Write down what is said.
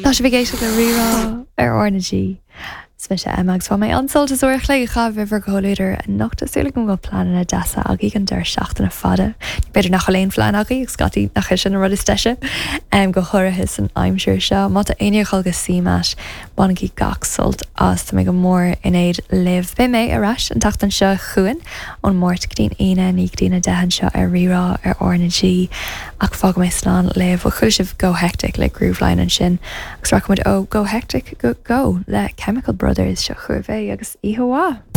Tá sibh ag éisteacht le Rí-Rá ar R na G. Is mise Emma agus bhain mé an-sult as uair a chloig a chaitheamh libh ar chomhluadar anocht. Tá súil agam go bhfuil pleananna deasa agaibh don deireadh seachtaine fada. B'fhéidir nach bhfuil aon phlean agaibh agus scaití nach é sin an rud is deise, go háirithe san aimsir seo. Má tá éinne ag dul go CMAT, bainigí gach sult as. Tá mé go mór in éad libh. Beidh mé ar ais an tseachtain seo chugainn ón Máirt go dtí'n Aoine, 9 go dtí'n 10 anseo ar Rí-Rá ar R na G. Ach fágfaidh mé slán libh. Bhuel, chuala sibh Go Hectic le Grooveline ansin. Agus rachaidh muid ó Go Hectic go Go le Chemical Brothers. Seo chugaibh é agus oíche mhaith!